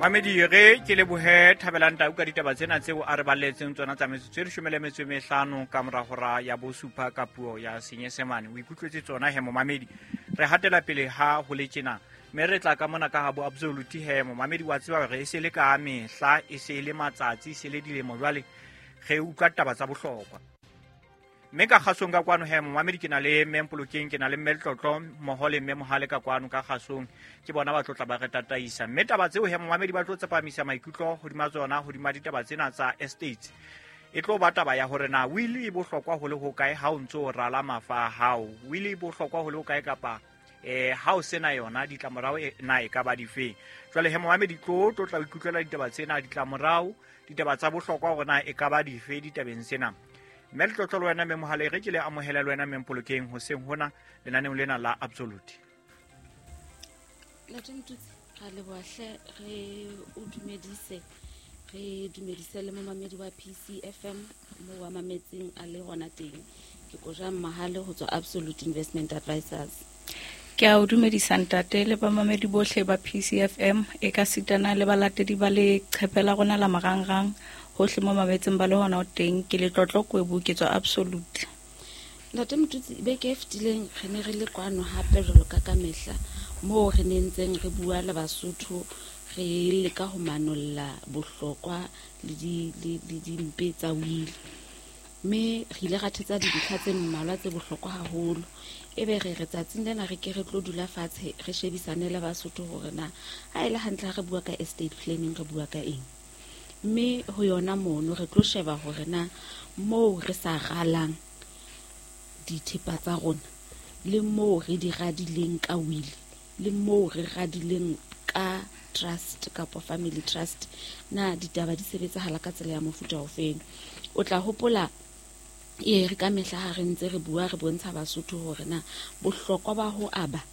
Mamedi, re ke lebohe Thabelang Tau ka ditaba tsena tseo a re baletseng tsona tsa metsotso e 15 ka mora hora ya bosupa ka puo ya Senyesemane. O ikutlwetse tsona he momamedi. Re hatela pele ha ho le tjena, mme re tla ka mona ka ha bo Absolute he momamedi. Wa tseba hore e se le ka mehla, e se le matsatsi, e se le dilemo jwale re utlwa taba tsa bohlokwa. Mme ka kgasong ka kwano he momamedi, ke na le mme Mpolokeng, ke na le mme Letlotlo mmoho le mme Mohale ka kwano ka kgasong. Ke bona ba tlotla ba re tataisa, mme taba tseo he momamedi ba tlo tsepamisa maikutlo hodima tsona, hodima ditaba tsena tsa estates. E tlo ba taba ya hore na will e bohlokwa ho le hokae ha o ntso o rala mafa a hao, will e bohlokwa ho le hokae kapa ha o sena yona ditlamorao na e ka ba difeng. Jwale he momamedi, tlo tla o ikutlwela ditaba tsena, ditlamorao, ditaba tsa bohlokwa hore na e ka ba dife ditabeng tsena. Mme Letlotlo le wena mme Mohale, re ke le amohele le wena mme Mpolokeng hoseng hona lenaneong lena la Absolute. Ntate Motutsi, ra leboha hle, re o dumedise, re dumedise le momamedi wa PCFM mo wa mametseng a le hona teng. Ke Kojang Mahale ho tswa Absolute Investment Advisors. Ke a o dumedisa ntate le bamamedi bohle ba PCFM, e ka sitana le balatedi ba leqhepe la rona la marangrang hohle mo mametseng ba le hona o teng. Ke Letlotlo Kwebu, ke tswa Absolute. Ntate Motutsi, beke e fetileng re ne re le kwano hape jwalo ka ka mehla, moo re ne ntseng re bua le Basotho, re leka ho manolla bohlokwa le dimpe tsa wili. Mme re ile ra thetsa dintlha tse mmalwa tse bohlokwa haholo. Ebe re re tsatsing lena re ke re tlo dula fatshe re shebisane le Basotho hore na ha e le hantle ha re bua ka estate planning re bua ka eng. Mme ho yona mono re tlo sheba hore na moo re sa ralang dithepa tsa rona, le moo re di radileng ka will, le moo re radileng ka trust kapa family trust, na ditaba di sebetsahala ka tsela ya mofuta ofeng. O tla hopola e re ka mehla ha re ntse re bua re bontsha Basotho hore na bohlokwa ba ho aba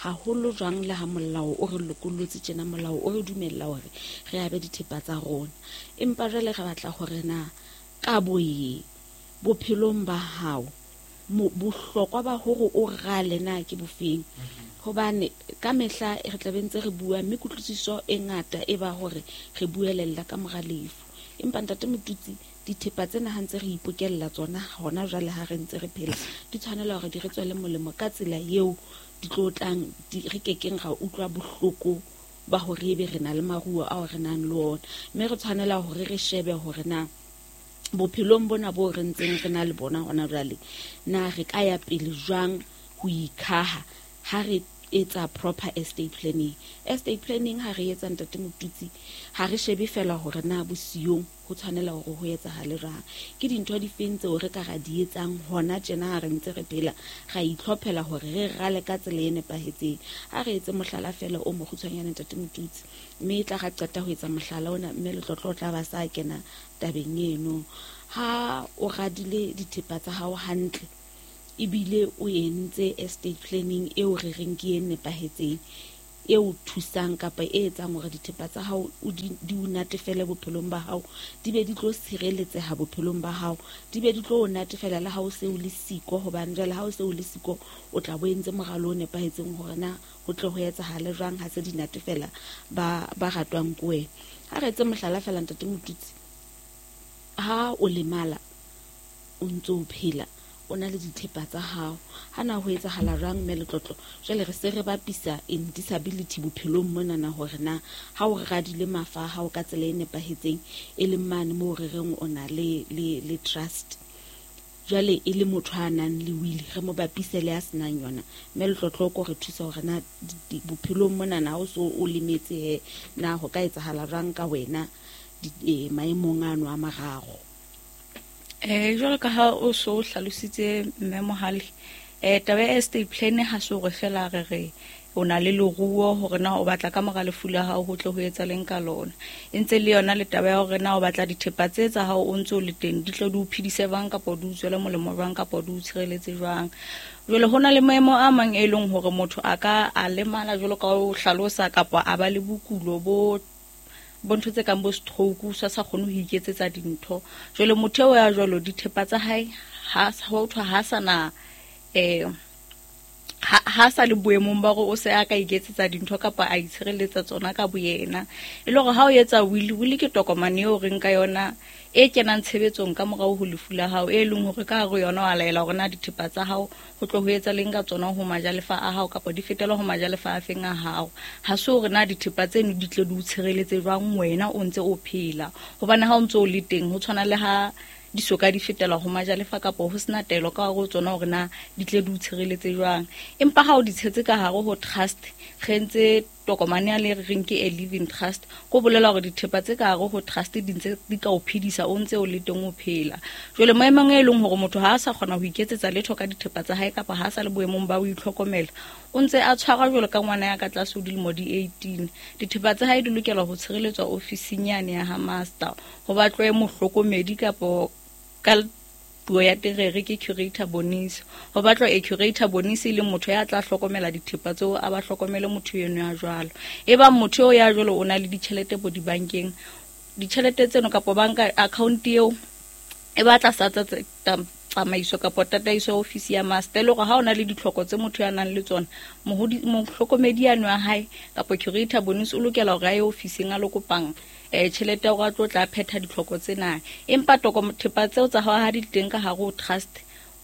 haholo jwang le ha molao o re lokollotse tjena, molao o re dumella hore re abe dithepa tsa rona. Empa jwale re batla hore na kabo e bophelong ba hao, bohlokwa ba hore o rale na ke bofeng. Hobane ka mehla re tla be ntse re bua, mme kutlwisiso e ngata e ba hore re buelella ka mora lefu. Empa ntate Motutsi, dithepa tsena ha ntse re ipokella tsona hona jwale ha re ntse re phela, di tshwanela hore di re tswele molemo ka tsela eo di tlo tlang, re kekeng ra utlwa bohloko ba hore ebe re na le maruo ao re nang le ona. Mme re tshwanela hore re shebe hore na bophelong bona bo re ntseng re na le bona hona jwale, na re ka ya pele jwang ho ikhaha ha re etsa proper estate planning. Estate planning ha re etsa ntate Motutsi, ha re shebe fela hore na bosiyong ho tshwanela hore ho etsahale jwang. Ke dintho di feng tseo re ka ra di etsang hona tjena ha re ntse re phela, ra itlhophela hore re rale ka tsela e nepahetseng. Ha re etse mohlala fela o mokgutshwanyane ntate Motutsi, mme e tla ra qeta ho etsa mohlala ona, mme Letlotlo o tla ba sa kena tabeng eno. Ha o radile dithepa tsa hao hantle, ebile o entse estate planning eo re reng ke e nepahetseng, e o thusang kapa e etsang hore dithepa tsa hao di o natefele bophelong ba hao, di be di tlo sireletseha bophelong ba hao, di be di tlo o natefela le ha o se o le siko. Hobane jwale ha o se o le siko, o tla bo entse moralo o nepahetseng hore na ho tle ho etsahale jwang ha se di natefela ba ratwang ke wena. Ha re etse mohlala fela ntate Motutsi, ha o lemala o ntse o phela, o na le dithepa tsa hao, ha na ho etsahala jwang mme Letlotlo? Jwale re se re bapisa in disability bophelong monana hore na ha o radile mafa a hao ka tsela e nepahetseng, e leng mane moo re reng o na le trust, jwale e le motho a nang le will, re mo bapise le a senang yona. Mme Letlotlo o ko re thusa hore na bophelong monana ha o so o lemetse he, na ho ka etsahala jwang ka wena maemong ano a mararo. Jwalo ka ha o so hlalositse mme Mohale, taba ya estate plan ha se hore fela re re o na le leruo hore na o batla ka mora lefu la hao ho tle ho etsahaleng ka lona. E ntse le yona le taba ya hore na o batla dithepa tse tsa hao o ntse o le teng, di tlo di o phedise jwang kapa di o tswele molemo jwang kapa di o tshireletse jwang. Jwale ho na le maemo a mang e leng hore motho a ka a lemala jwalo ka o hlalosa, kapa a ba le bokulo bo ntho tse kang bo stroke, o sa kgone ho iketsetsa dintho. Jwale motho eo ya jwalo dithepa tsa hae ha ho thwa ha sana Ha sa le boemong ba hore o se a ka iketsetsa dintho kapa a itshireletsa tsona ka boyena. E le hore ha o etsa will, will ke tokomane eo reng ka yona e kenang tshebetsong ka morao ho lefu la hao, e leng hore ka hare ho yona wa laela hore na dithepa tsa hao ho tlo ho etsa leng ka tsona ho majalefa a hao kapa di fetela ho majalefa a feng a hao. Ha se hore na dithepa tseno di tle di o tshireletse jwang wena o ntse o phela, hobane ha o ntse o le teng ho tshwana le ha di soka di fetela ho majalefa kapa ho sena taelo ka hare ho tsona hore na di tle di o tshireletse jwang. Empa ha o di tshetse ka hare ho trust, re entse tokomane ya le re reng ke a living trust, ko bolela hore dithepa tse ka hare ho trust di ntse di ka o phedisa o ntse o le teng o phela. Jwale maemong e leng hore motho ha a sa kgona ho iketsetsa letho ka dithepa tsa hae kapa ha a sa le boemong ba ho itlhokomela, o ntse a tshwarwa jwalo ka ngwana ya ka tlase ho dilemo di 18. Dithepa tsa hae di lokela ho tshireletswa ofising yane ya ha master, ho batlwe mohlokomedi kapo ka puo ya terere ke curator bonisi, ho batlwa e curator bonisi e leng motho ya tla hlokomela dithepa tseo, a ba hlokomele motho eno ya jwalo. E bang motho eo ya jwalo o na le ditjhelete bo dibankeng, ditjhelete tseno kapo banka account eo e batla sa tsamaiso kapo tataiso ya ofisi ya master, e le hore ha o na le ditlhoko tse motho ya nang le tsona, mohlokomedi yano ya hae kapo curator bonisi o lokela hore a ye ofising a lo kopang tjhelete ya hore a tlo tla phetha ditlhoko tsena. Empa thepa tseo tsa hao ha di teng ka hare ho trust,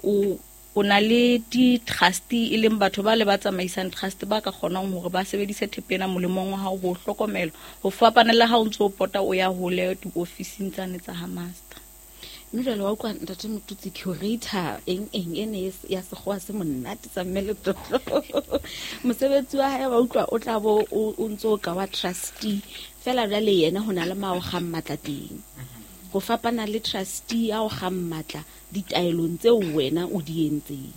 o na le di-trustee e leng batho ba le ba tsamaisang trust ba ka kgonang hore ba sebedise thepa ena molemong wa hao ho hlokomela, ho fapana le ha o ntso o pota o ya hole diofising tsane tsa ha master. Mme jwale wa utlwa ntate Motutsi, curator eng eng e ne ya sekgowa se monate sa mme Letlotlo. Mosebetsi wa hae wa utlwa o tla bo o ntso ka wa trustee, fela jwale yena ho na le mao kgang matla teng. Ho fapana le trustee ya o kgang matla ditaelong tseo wena o di entseng.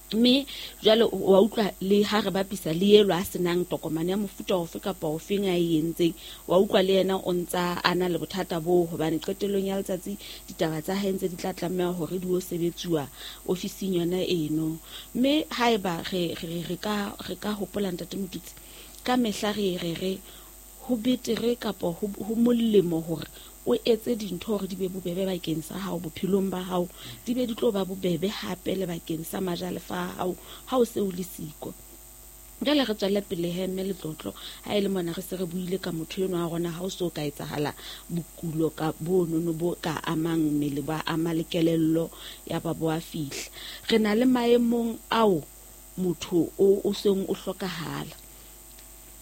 Mme jwale wa utlwa le ha re bapisa le elo a senang tokomane ya mofuta ofe kapa ofeng a e entseng, wa utlwa le yena o ntsa a na le bothata boo, hobane qetellong ya letsatsi ditaba tsa hae ntse di tla tlameha hore di o sebetsuwa ofising yona eno. Mme haeba re ka hopola ntate Motutsi, ka mehla re re re ho betere kapa ho molemo hore o etse dintho hore di be bobebe bakeng sa hao bophelong ba hao, di be di tlo ba bobebe hape le bakeng sa majalefa a hao ha o se o le siko. Jwale re tswelle pele he mme Letlotlo, ha e le mona re se re buile ka motho enwa wa rona, ha o so ka etsahala bokulo ka bonono bo ka amang mmele, ba ama le kelello ya ba bo a fihla. Re na le maemong ao motho o seng o hlokahala.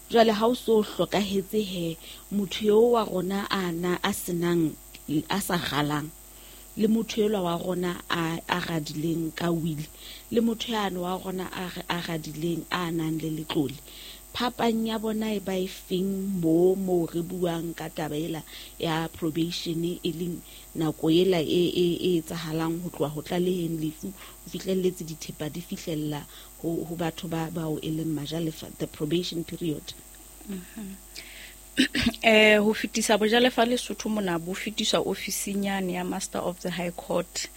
Jwale ha o so hlokahetse he, motho eo wa rona a na a senang, a sa galang, le motho elwa wa rona a radileng ka will, le motho yane wa rona a radileng a nang le letlole, phapang ya bona e ba e feng mo re buang ka taba ela ya probation, e leng nako ela e etsahalang ho tloha ho tlaleheng lefu ho fihlelletse dithepa di fihlella ho batho ba bao e leng majalefa, the probation period. Ho fetisa bojalefa Lesotho mona bo fetiswa ofising yane ya Master of the High Court,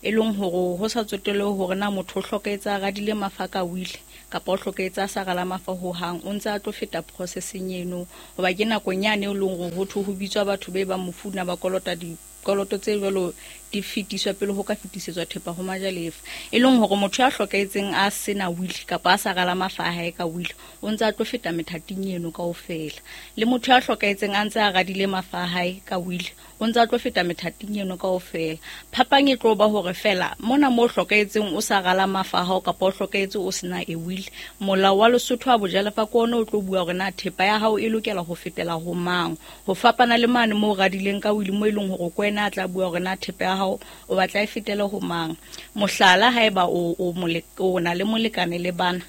e leng hore ho sa tsotelle hore na motho o hlokahetse a radile mafa ka will kapa o hlokahetse a sa rala mafa hohang, o ntse a tlo feta processing eno, hoba ke nakong yane e leng hore ho thwe ho bitswa batho be bang mofuna ba kolota dikoloto tse jwalo di fetiswa pele ho ka fetisetswa thepa ho majalefa. E leng hore motho ya hlokahetseng a sena will kapa a sa rala mafa a hae ka will, o ntse a tlo feta methating eno kaofela. Le motho ya hlokahetseng a ntse a radile mafa a hae ka will, o ntse a tlo feta methating eno kaofela. Phapang e tlo ba hore fela mona mo hlokahetseng o sa rala mafa a hao kapa o hlokahetse o sena a will, molao wa Lesotho wa bojalefa ke ona o tlo bua hore na thepa ya hao e lokela ho fetela ho mang, ho fapana le mane mo radileng ka will mo e leng hore ke wena a tla bua hore na thepa ya hao o batla e fetele ho mang. Mohlala, haeba o na le molekane le bana,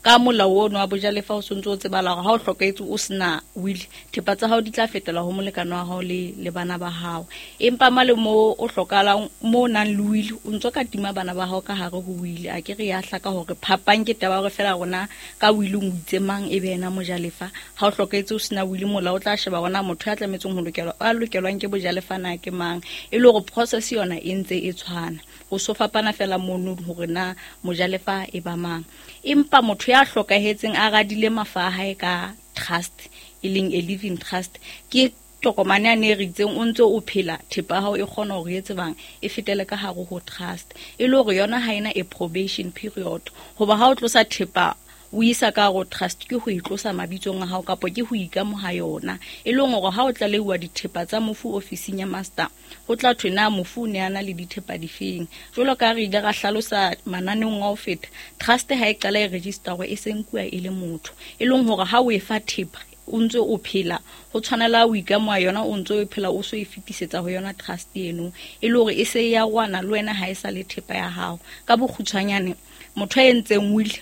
ka molao ono wa bojalefa o sontse o tsebala hore ha o hlokahetse o sena will, thepa tsa hao di tla fetela ho molekane wa hao le bana ba hao. Empa male mo o hlokahalang, mo o nang le will, o ntso ka tima bana ba hao ka hare ho will. A ke re ya hlaka hore phapang ke taba hore fela rona ka will o itse mang e be yena mojalefa. Ha o hlokahetse o sena will, molao o tla sheba hore na motho ya tlametseng ho lokelwa, a lokelwang ke bojalefa na ke mang, e le hore process yona e ntse e tshwana. Ho so fapana fela mono hore na mojalefa e ba mang. Empa motho ya hlokahetseng a radile mafa a hae ka trust, e leng a living trust, ke Tokomane yane e re itseng o ntse o phela, thepa ya hao e kgona hore e tsebang e fetele ka hare ho trust, e le hore yona ha ena a probation period. Hoba ha o tlosa thepa o isa ka hare ho trust, ke ho e tlosa mabitsong a hao kapa ke ho ikamoha yona. E leng hore ha o tlaleuwa dithepa tsa mofu ofising ya master, ho tla thwe na mofu o ne a na le dithepa difeng. Jwalo ka re ile ra hlalosa mananeong a ho feta, trust ha e qala e register e se nkuwa e le motho, e leng hore ha o e fa thepa o ntse o phela, ho tshwanela o ikamoha yona o ntse o phela, o so e fetisetsa ho yona trust eno, e le hore e se ya rwana le wena ha e sa le thepa ya hao. Ka bokgutshwanyane, motho a entseng will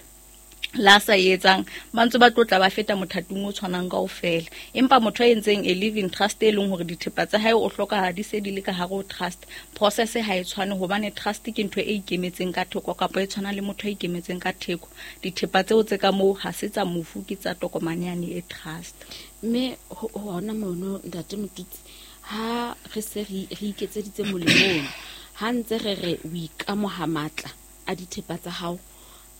la sa etsang ba ntse ba tlotla ba feta mothating o tshwanang kaofela, empa motho a entseng a living trust e leng hore dithepa tsa hae o hlokahala di se di le ka hare ho trust, process ha e tshwane, hobane trust ke ntho e ikemetseng ka theko kapa e tshwana le motho a ikemetseng ka theko. Dithepa tseo tse ka moo ha se tsa mofu, ke tsa tokomane yane e trust. Mme hona mono ntate Motutsi, ha re se re iketseditse molemong, ha ntse re re o ikamoha matla a dithepa tsa hao,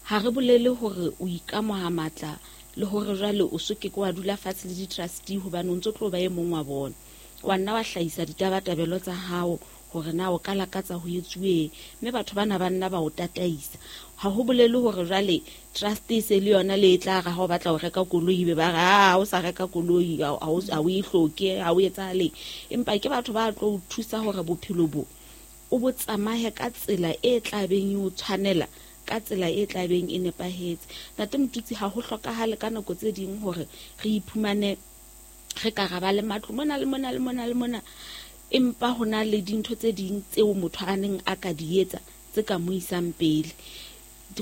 ha re bolele hore o ikamoha matla le hore jwale o so ke wa dula fatshe le di-trustee, hobane o ntso tlo ba e mong wa bona. Wa nna wa hlahisa ditabatabelo tsa hao hore na o ka lakatsa ho etsuweng, mme batho bana ba nna ba o tataisa. Ha ho bolele hore jwale trust e se le yona le e tla re ha o batla ho reka koloi be ba re ha o sa reka koloi ha o e hloke, ha o etsahale. Empa ke batho ba tlo o thusa hore bophelo bo o bo tsamaye ka tsela e tla beng e o tshwanela, ka tsela e tla beng e nepahetse. Ntate Motutsi, ha ho hlokahale ka nako tse ding hore re iphumane re ka ra ba le matlo mona le mona le mona le mona, empa ho na le dintho tse ding tseo motho a neng a ka di etsa tse ka mo isang pele.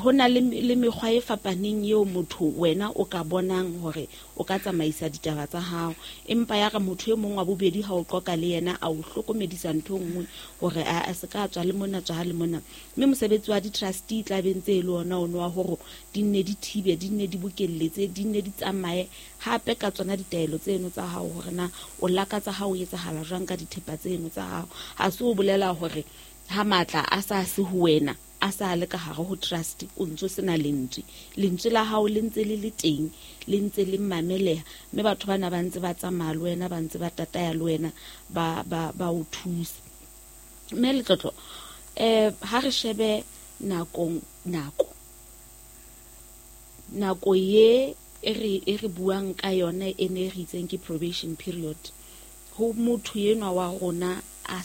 Ho na le mekgwa e fapaneng eo motho wena o ka bonang hore o ka tsamaisa ditaba tsa hao, empa ya re motho e mong wa bobedi ha o qoqa le yena a o hlokomedisa ntho e nngwe hore a se ka tswa le mona, tswa le mona. Mme mosebetsi wa di-trustee tla be ntse e le ona ono wa hore di nne di thibe, di nne di bokelletse, di nne di tsamaye hape ka tsona ditaelo tseno tsa hao hore na o lakatsa ha o etsahala jwang ka dithepa tseno tsa hao. Ha se o bolela hore ha matla a sa se ho wena, a sa le ka hare ho trust, o ntso sena lentswe. Lentswe la hao le ntse le le teng, le ntse le mameleha, mme batho bana ba ntse ba tsamaya le wena, ba ntse ba tataya le wena, ba o thusa. Mme Letlotlo, ha re shebe nako ye e re buang ka yona e ne re itseng ke probation period, ho motho enwa wa rona a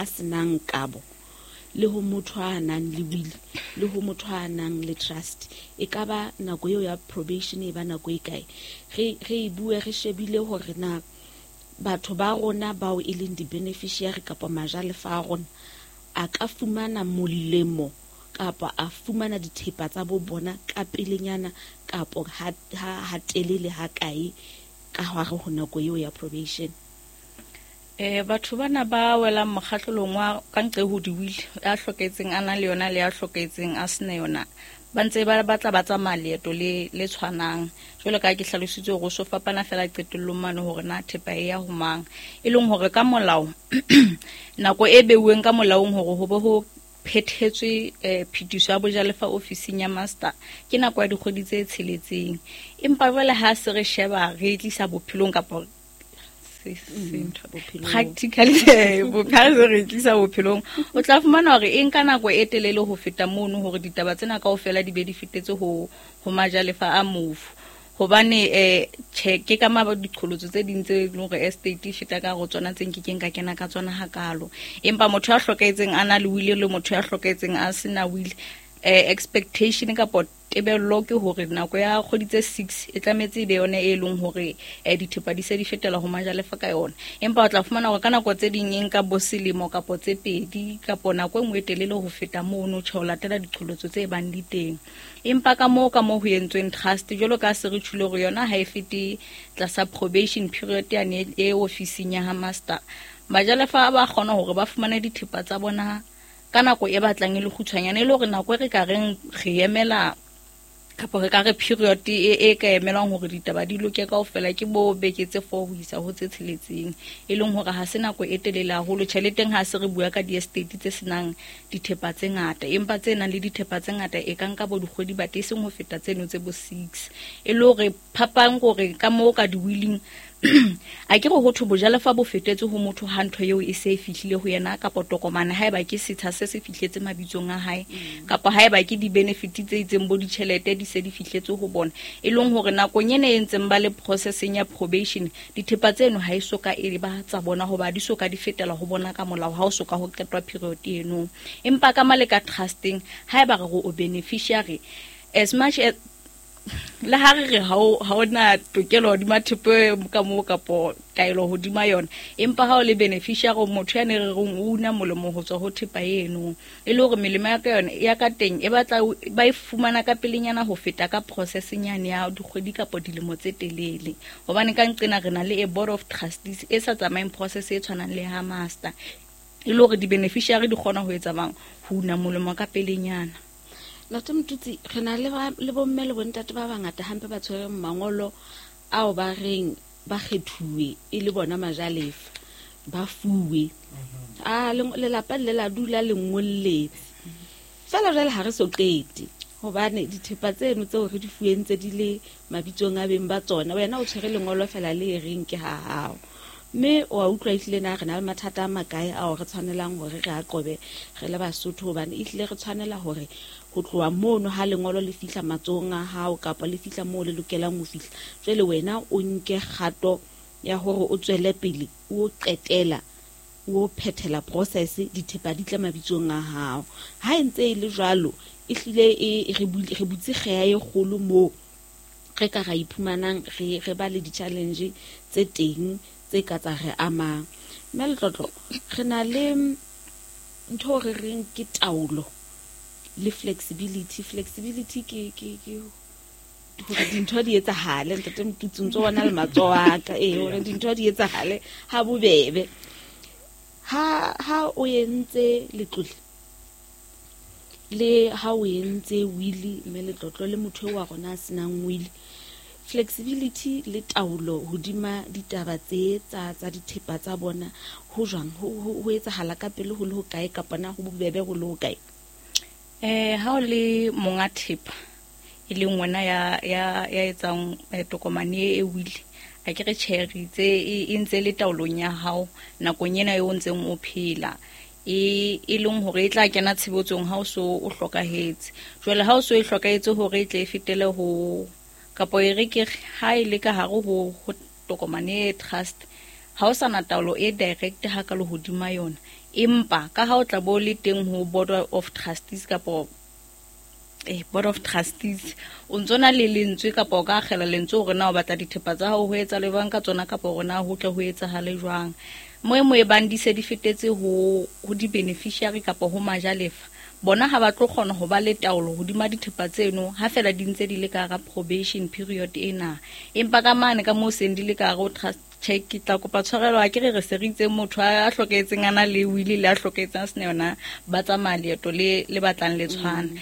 senang kabo, le ho motho a nang le will, le ho motho a nang le trust, e ka ba nako eo ya probation e ba nako e kae? Re e bue re shebile hore na batho ba rona bao e leng di-beneficiary kapa majalefa a rona a ka fumana molemo kapa a fumana dithepa tsa bo bona ka pelenyana kapa ha telele ha kae ka hare ho nako eo ya probation. Batho bana ba welang mokgahlelong wa ka ntle ho di-will, a hloketseng a na le yona le a hloketseng a sena yona, ba ntse ba batla ba tsamaya leeto le tshwanang. Jwalo ka ke hlalositse hore o so fapana fela qetellong mane hore na thepa e ya ho mang, e leng hore ka molao nako e beuweng ka molaong hore ho be ho phethetswe phetiso ya bojalefa ofising ya master ke nako ya dikgwedi tse 6. Empa jwale ha se re sheba re tlisa bophelong kapa practically bophelo re tlisa bophelong, o tla fumana hore e nka nako e telele ho feta mono hore ditaba tsena kaofela di be di fetetse ho majalefa a mofu. Hobane che ke ka ma diqholotso tse ding tse leng hore estate e feta ka go tsona tse nkekeng ka kena ka tsona hakalo. Empa motho ya hlokahetseng a na le will le motho ya hlokahetseng a sena will, expectation kapa tebello ke hore nako ya kgwedi tse 6 e tlametse e be yona e leng hore dithepa di se di fetela ho majalefa ka yona. Empa o tla fumana hore ka nako tse ding e nka bo selemo kapo tse 2 kapo nako e nngwe e telele ho feta mono, tjhe ho latela diqholotso tse bang di teng. Empa ka moo ho entsweng trust, jwalo ka se re tjhule hore yona ha e fete tlasa probation period yane e ofising ya ha master, majalefa ba kgona hore ba fumane dithepa tsa bona ka nako e batlang e le kgutshwanyane, e le hore nako e re ka reng re emela kapa re ka re period e ka emelwang hore ditaba di loke kaofela ke bo beke tse 4 ho isa ho tse 6, e leng hore ha se nako e telele haholo. Tjheleteng ha se re bua ka di-estate tse senang dithepa tse ngata, empa tse nang le dithepa tse ngata e ka nka bo dikgwedi bate e seng ho feta tseno tse bo 6. E le hore phapang hore ka moo ka di-willing A ke re ho thwe bojalefa bo fetetse ho motho ha ntho eo e se e fihlile ho yena, kapa tokomane haeba ke setsha se se fihletse mabitsong a hae, kapa haeba ke di-benefit tse itseng bo ditjhelete di se di fihletse ho bona. E leng hore nakong ena e ntseng ba le processing ya probation, dithepa tseno ha e soka e ba tsa bona, hoba di soka di fetela ho bona ka molao ha o soka ho qetwa period eno. Empa ka male ka trusting, haeba re re o beneficiary, as much as le ha re re ha o na tokelo hodima thepa ka moo kapo taelo hodima yona, empa ha o le beneficiary, motho ya ne re reng o una molemo ho tswa ho thepa eno, e le hore melemo ya ka yona ya ka teng e batla ba e fumana ka pelenyana ho feta ka processing yane ya dikgwedi kapo dilemo tse telele. Hobane ka nqena re na le a board of trustees e sa tsamayeng process e tshwanang le ha master, e le hore di-beneficiary di kgona ho etsa bang ho una molemo ka pelenyana. Ntate Motutsi, re na le bomme le bontate ba bangata hampe ba tshwereng mangolo ao ba reng ba kgethuwe e le bona majalefa, ba fuwe. A lelapa le la dula le ngolletse. Feela jwale ha re so qete, hobane dithepa tseno tseo re di fuweng tse di le mabitsong a beng ba tsona, wena o tshwere lengolo feela le e reng ke ha hao. Mme wa utlwa ehlile na re na le mathata a makae ao re tshwanelang hore re a qobe re le Basotho, hobane ehlile re tshwanela hore ho tloha mono ha lengolo le fihla matsohong a hao kapa le fihla moo le lokelang ho fihla, jwale wena o nke kgato ya hore o tswele pele o qetela o phethela process, dithepa di tle mabitsong a hao. Ha e ntse e le jwalo, ehlile e re butse kgeha e kgolo moo re ka ra iphumanang re ba le di-challenge tse teng tse ka tsa re amang. Mme Letlotlo, re na le ntho re reng ke taolo le flexibility. Flexibility ke hore dintho di etsahale, ntate Motutsi, ntso bona le matsoho a ka, hore dintho di etsahale ha bobebe. Ha o entse letlole le ha o entse wili, mme Letlotlo le motho wa rona a senang wili, flexibility le taolo hodima ditaba tse tsa dithepa tsa bona ho jwang, ho etsahala ka pele ho le ho kae, kapa na ho bobebe ho le ho kae? Ha o le monga thepa e leng wena ya etsang tokomane e wili, a ke re tjhe, re itse e ntse le taolong ya hao nakong ena eo o ntseng o phela, e leng hore e tla kena tshebetsong ha o so o hlokahetse. Jwale ha o so e hlokahetse hore e tle e fetele ho, kapo e re ke ha e le ka hare ho tokomane e trust, ha o sana taolo e direct ha ka le hodima yona, empa ka ha o tla bo le teng ho board of trustees kapo board of trustees, o ntso na le lentswe kapa o ka akgela lentswe hore na o batla dithepa tsa hao ho etsa le jwang ka tsona, kapa hore na ho tle ho etsahale jwang. Mo e mo e bang di se di fetetse ho di-beneficiary kapa ho majalefa, bona ha ba tlo kgona ho ba le taolo hodima dithepa tseno ha fela di ntse di le ka hara probation period ena. Empa ka mane ka moo seng di le ka hare ho trust, tjhe, ke tla kopa tshwarelo, ha ke re re se re itse motho a hlokahetseng a na le wili le a hlokahetseng a sena yona, ba tsamaya leeto le batlang le tshwana.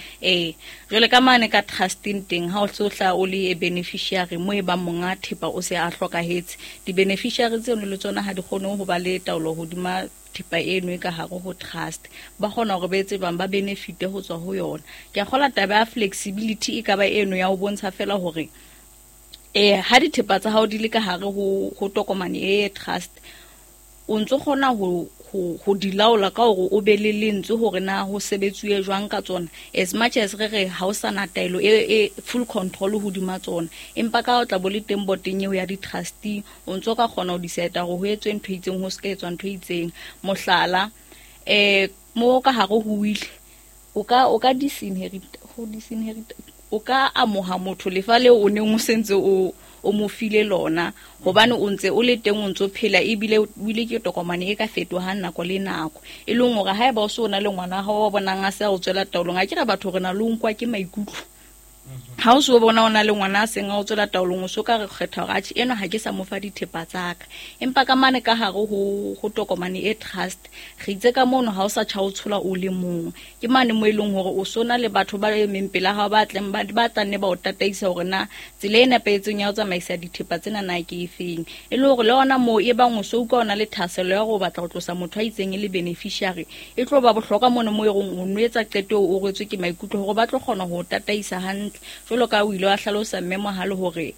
Jwale ka mane ka trusting teng, ha o se o hlaha o le a beneficiary, mo e bang monga thepa o se a hlokahetse, di-beneficiary tseno le tsona ha di kgone ho ba le taolo hodima thepa eno e ka hare ho trust, ba kgona hore ba etse jwang, ba benefite ho tswa ho yona. Ke a kgolwa taba ya flexibility e ka ba eno ya ho bontsha fela hore ha dithepa tsa hao di le ka hare ho tokomane e trust, o ntso kgona ho di laola ka hore o be le lentswe hore na ho sebetsuwe jwang ka tsona, as much as re re ha o sana taelo e full control hodima tsona, empa ka o tla bo le teng boteng eo ya di-trustee, o ntso ka kgona ho decide hore ho etswe ntho e itseng, ho se ka etswa ntho e itseng. Mohlala, mo ka hare ho wili, o ka disinherit, ho disinherit, o ka amoha motho lefa leo o neng o sentse o mo file lona, hobane o ntse o le teng, o ntso phela, ebile o ile ke tokomane e ka fetohang nako le nako. E leng hore haeba o se o na le ngwana hao wa bonang a se a o tswela taolong, a ke re batho re na le ho nkwa ke maikutlo. Ha o so bona o na le ngwana a seng a o tswela taolong, o so ka re kgetha hore atjhe, enwa ha ke sa mo fa dithepa tsa ka. Empa ka mane ka hare ho tokomane e trust, re itse ka mono ha o sa tjha o tshola o le mong. Ke mane mo e leng hore o so na le batho ba emeng pela hao ba tleng ba tla nne ba o tataisa hore na tsela e nepahetseng ya ho tsamaisa dithepa tsena na ke efeng. E le hore le hona moo e bang o so utlwa o na le thahasello ya hore o batla ho tlosa motho a itseng e le beneficiary, e tlo ba bohlokwa mono mo e reng o no etsa qeto eo o rwetswe ke maikutlo hore ba tlo kgona ho o tataisa hantle. Jwalo ka o ile wa hlalosa mme Mohale hore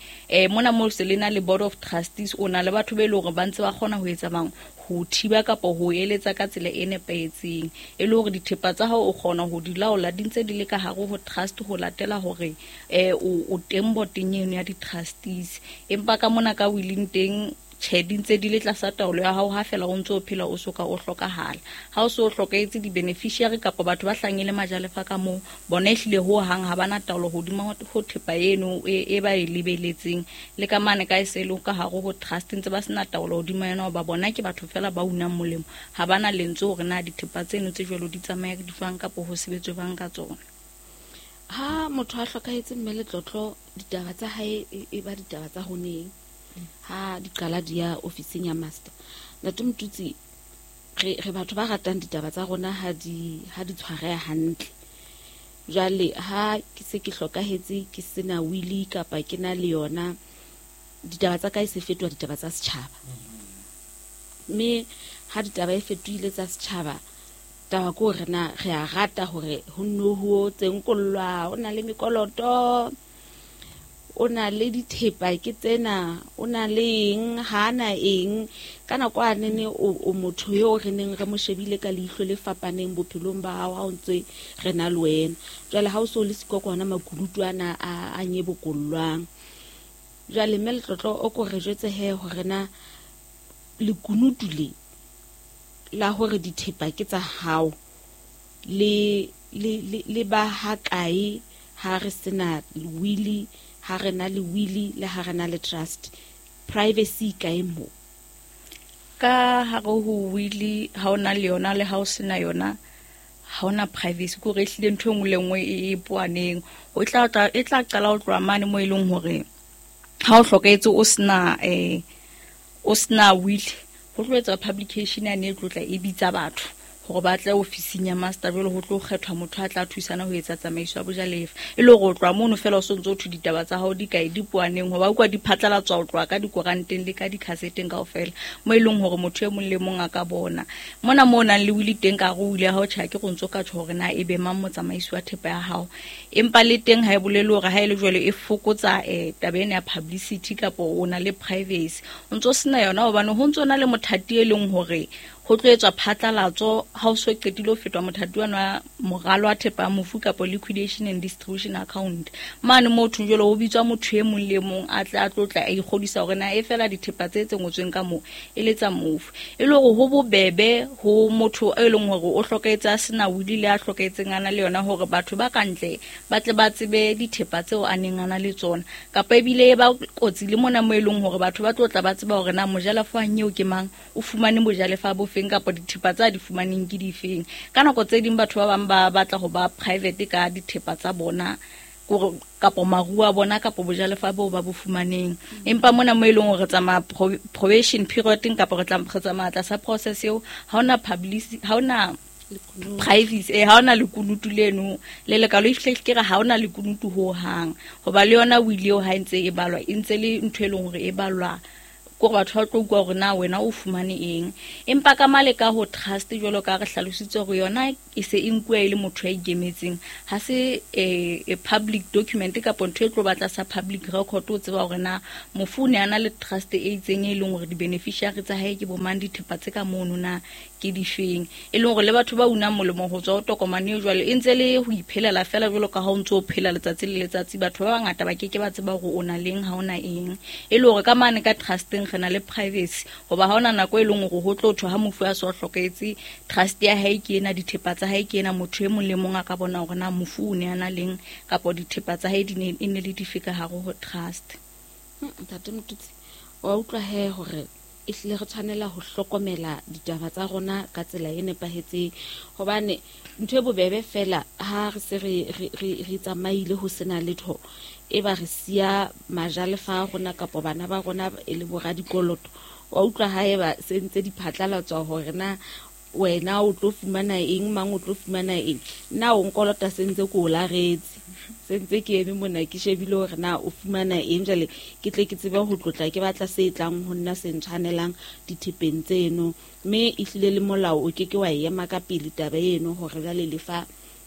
mona mo se le na le board of trustees, o na le batho be leng hore ba ntse ba kgona ho etsa bang ho thiba kapa ho eletsa ka tsela e nepahetseng, e le hore dithepa tsa hao o kgona ho di laola di ntse di le ka hare ho trust, ho latela hore o teng boteng eno ya di-trustees. Empa ka mona ka willing teng, tjhe, di ntse di le tlasa taolo ya hao ha fela o ntse o phela o soka o hlokahala. Ha o se o hlokahetse, di-beneficiary kapa batho ba hlahang e le majalefa ka moo, bona ehlile ho hang ha bana taolo hodima ho thepa eno e ba e lebeletseng. Le ka mane ka e se le ka hare ho trust ntse ba sena taolo hodima yona, hoba bona ke batho fela ba unang molemo, ha bana lentswe hore na dithepa tseno tse jwalo di tsamaya di jwang kapa ho sebetswe jwang ka tsona. Ha motho a hlokahetse mme Letlotlo, ditaba tsa hae e ba ditaba tsa ho neng ha di qala di ya ofising ya master. Ntate Motutsi, re batho ba ratang ditaba tsa rona ha di tshwareha hantle. Jwale ha ke se ke hlokahetse ke sena wili kapa ke na le yona, ditaba tsa ka e se fetoha ditaba tsa setjhaba. Mme ha ditaba e fetohile tsa setjhaba, taba ke hore na re a rata hore ho nno ho tsenkollwa, o na le mekoloto, o na le dithepa ke tsena, o na le eng, ha na eng. Ka nako a nene o motho eo re neng re mo shebile ka leihlo le fapaneng bophelong ba hao ha o ntse re na le wena. Jwale ha o so le siko ke hona makunutu ana a nyebokollwang. Jwale mme Letlotlo, o ko re jwetse he hore na lekunutu le la hore dithepa ke tsa hao le ba ha kae ha re sena wili, ha re na le wili le ha re na le trust, privacy kae mo? Ka hare ho wili ha o na le yona le ha o sena yona, ha ona privacy, ke hore ehlile ntho e nngwe le nngwe e poaneng. O tla e tla qala ho tloha mane mo e leng hore ha o hlokahetse o sena wili, ho tlo etsa publication yane e tlo tla e bitsa batho hore ba tle ofising ya master, jwale ho tlo kgethwa motho a tla thusana ho etsa tsamaiso ya bojalefa. E le hore o tloha mono fela o sontso o thwe ditaba tsa hao di kae, di poaneng, hoba utlwa di phatlalatswa ho tloha ka dikoranteng le ka dikhaseteng kaofela, mo e leng hore motho e mong le mong a ka bona. Mona mo o nang le wili teng, ka hare ho wili ya hao, tjhe, ha ke re o ntso ka tjho hore na e be mang motsamaisi wa thepa ya hao, empa le teng ha e bolele hore ha e le jwalo e fokotsa taba ena ya publicity kapa o na le privacy. O ntso sena yona hobane ho ntso na le mothati e leng hore ho tlo etswa phatlalatso ha o so qetile ho fetwa mothati wa moralo wa thepa ya mofu kapa liquidation and distribution account. Mane moo thong jwale ho bitswa motho e mong le mong a tle a tlo tla a ikgodisa hore na e fela dithepa tse ngotsweng ka moo e le tsa mofu. E le hore ho bobebe ho motho e leng hore o hlokahetse a sena wili le a hlokahetseng a na le yona, hore batho ba kantle ba tle ba tsebe dithepa tseo a neng a na le tsona, kapa ebile e ba kotsi le mona mo e leng hore batho ba tlo tla ba tseba hore na mojalefa wa nyeo ke mang, o fumane bojalefa bo feng kapa dithepa tsa di fumaneng ke difeng. Ka nako tse ding batho ba bang ba batla ho ba private ka dithepa tsa bona, kore kapa maruo a bona kapa bojalefa boo ba bo fumaneng. Empa mona mo e leng hore re tsamaya probation period kapa re tsamaya tlasa process eo, ha hona publicity, ha hona privacy, ha hona lekunutu leno le lekalo, ehlile ke re ha hona lekunutu ho hang, hoba le yona wili eo ha e ntse e balwa, e ntse le ntho e leng hore e balwa kore batho ba tlo utlwa hore na wena o fumane eng. Empa ka male ka ho trust, jwalo ka re hlalositse hore yona e se e nkuwa e le motho ya ikemetseng, ha se e public document kapa ntho e tlo batla sa public record o tseba hore na mofu o ne a na le trust e itseng e leng hore di-beneficiary tsa hae ke bo mang, dithepa tse ka mono na ke difeng, e leng hore le batho ba unang molemo ho tswa ho tokomane eo jwale e ntse le ho iphelela fela jwalo ka ha o ntso o phela letsatsi le letsatsi. Batho ba bangata ba keke ba tseba hore o na leng, ha o na eng. E le hore ka mane ka trusteng re na le privacy, hoba ha hona nako e leng hore ho tlo thwe ha mofu a so hlokahetse trust ya hae ke ena, dithepa tsa hae ke ena, motho e mong le mong a ka bona hore na mofu o ne a na leng kapa dithepa tsa hae di ne e ne le dife ka hare ho trust. Ntate Motutsi, wa utlwa he hore ehlile re tshwanela ho hlokomela ditaba tsa rona ka tsela e nepahetseng, hobane ntho e bobebe fela ha re se re tsamaile ho sena letho, e ba re siya majalefa a rona kapa bana ba rona e le boradikoloto. Wa utlwa ha eba se ntse di phatlalatswa hore na wena o tlo fumana eng, mang o tlo fumana eng, nna o nkolota se ntse ke o laretse, se ntse ke eme mona ke shebile hore na o fumana eng, jwale ke tle ke tsebe ho tlotla ke batla se tlang ho nna se ntshwanelang dithepeng tseno. Mme ehlile le molao o keke wa ema ka pele taba eno hore jwale lefa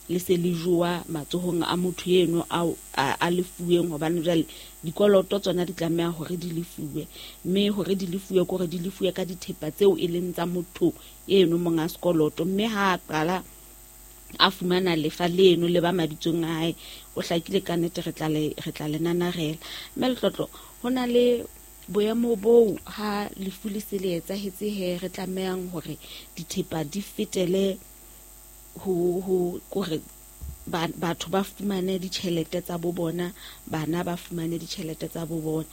le se le jowa matsohong a motho eno a lefuweng, hobane jwale dikoloto tsona di tlameha hore di lefuwe, mme hore di lefuwe ke hore di lefuwe ka dithepa tseo e leng tsa motho eno monga sekoloto. Mme ha a qala a fumana lefa leno le ba mabitsong a hae, o hlakile ka nnete re tla le nanarela. Mme Letlotlo, ho na le boemo boo ha lefu le se le etsahetse he re tlamehang hore dithepa di fetele ho kore batho ba fumane ditjhelete tsa bo bona, bana ba fumane ditjhelete tsa bo bona.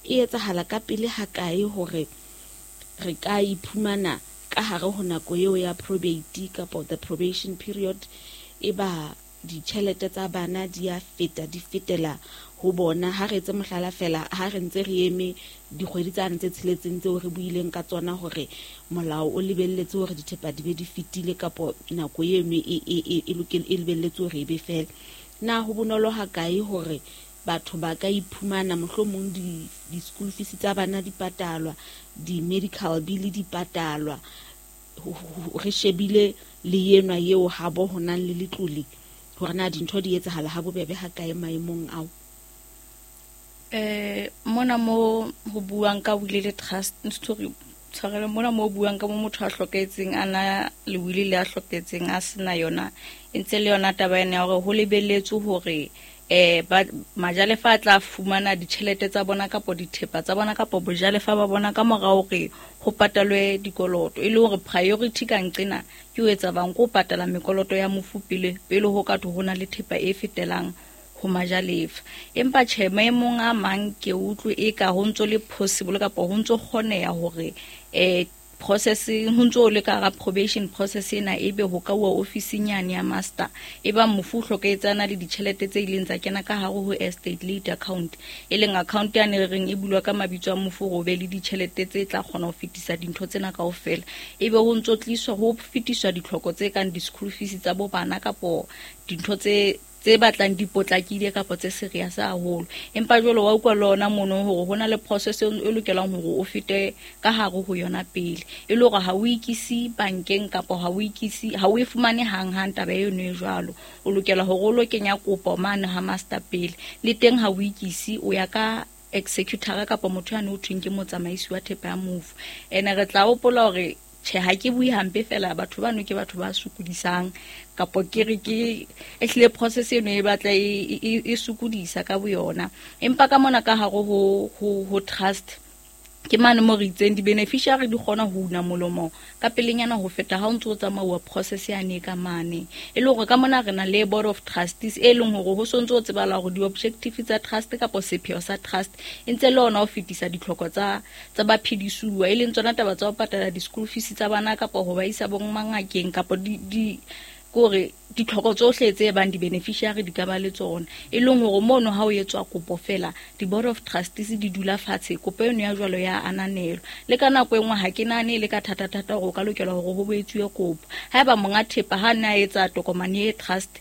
E etsahala ka pele ha kae hore re ka iphumana ka hare ho nako eo ya probate kapa the probation period, e ba ditjhelete tsa bana di a feta, di fetela ho bona? Ha re etse mohlala fela, ha re ntse re eme dikgwedi tsane tse tsheletseng tseo re buileng ka tsona hore molao o lebelletse hore dithepa di be di fetile, kapo nako eno e lebelletse hore e be fela, na ho bonolo ha kae hore batho ba ka iphumana mohlomong di-school fees tsa bana di patalwa, di-medical bill di patalwa, re shebile le enwa eo habo ho nang le letlole, hore na dintho di etsahala ha bobebe ha kae maemong ao? Mona mo ho buang ka will le trust, story tshwarelo, mona mo buang ka mo motho a hlokahetseng a na le will le a hlokahetseng a sena yona, e ntse le yona taba ena ya hore ho lebelletswe hore ba majalefa a tla fumana ditjhelete tsa bona kapo dithepa tsa bona kapo bojalefa ba bona ka mora hore ho patalwe dikoloto, e le hore priority ka nqena ke ho etsa bang ko patala mekoloto ya mofu pele pele ho ka thwe ho na le thepa e fetelang ho majalefa. Empa tjhe, maemong a mang ke utlwe e ka ho ntso le possible kapa ho ntso kgoneha hore process ho ntso le ka hara probation process ena ebe ho ka uwa ofising yane ya master, e ba mofu o hlokahetse a na le ditjhelete tse ileng tsa kena ka hare ho estate late account, e leng account yane re reng e bulwa ka mabitso a mofu hore o be le ditjhelete tse tla kgona ho fetisa dintho tsena kaofela, ebe ho ntso tliswa ho fetiswa ditlhoko tse kang di-school fees tsa bo bana kapo dintho tse batlang di potlakile kapa tse serious haholo. Empa jwale wa utlwa le ona mono hore ho na le process e lokelang hore o fete ka hare ho yona pele, e le hore ha o ikise bankeng kapa ha o ikise, ha o e fumane hanghang taba eno e jwalo. O lokela hore o lo kenya kopo mane ha master pele, le teng ha o ikise o ya ka executor kapa motho yane ho thweng ke motsamaisi wa thepa ya mofu. Ene re tla hopola hore tjhe, ha ke bue hampe fela, batho bano ke batho ba sokodisang, kapo ke re ke ehlile process eno e batla e sokodisa ka boyona. Empa ka mona ka hare ho trust ke mane mo re itseng di-beneficiary di kgona ho una molomo ka pelenyana ho feta ha o ntso o tsamauwa process yane ka mane. E le hore ka mona re na le board of trustees e leng hore ho sontso o tsebala hore di-objective tsa trust kapa sepheo sa trust e ntse le ona ho fetisa ditlhoko tsa baphedisuwa, e leng tsona taba tsa ho patala di-school fees tsa bana kapa ho ba isa bo mangakeng kapa di kore ditlhoko tsohle tse bang di-beneficiary di ka ba le tsona. E leng hore mono ha o etswa kopo fela, di-board of trustees di dula fatshe, kopo eno ya jwalo ya ananelwa. Le ka nako e nngwe ha ke nahane e le ka thata-thata hore o ka lokela hore ho etsuwe kopo. Haeba monga thepa ha ne a etsa tokomane e trust,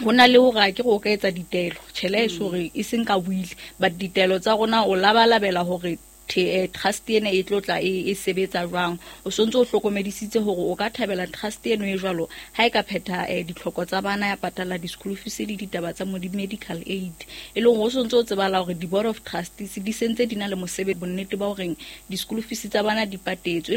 ho na le hore a ke re o ka etsa ditaelo, tjhe le eso hore e seng ka will, but ditaelo tsa rona o labalabela hore trust ena e tlo tla e sebetsa jwang. O sontso o hlokomedisitse hore o ka thabela trust eno e jwalo ha e ka phetha ditlhoko tsa bana, ya patala di-school fees le ditaba tsa mo di-medical aid. E leng hore o sontso o tsebala hore di-board of trustees di sentse di na le mosebetsi, bonnete ba horeng di-school fees tsa bana di patetswe.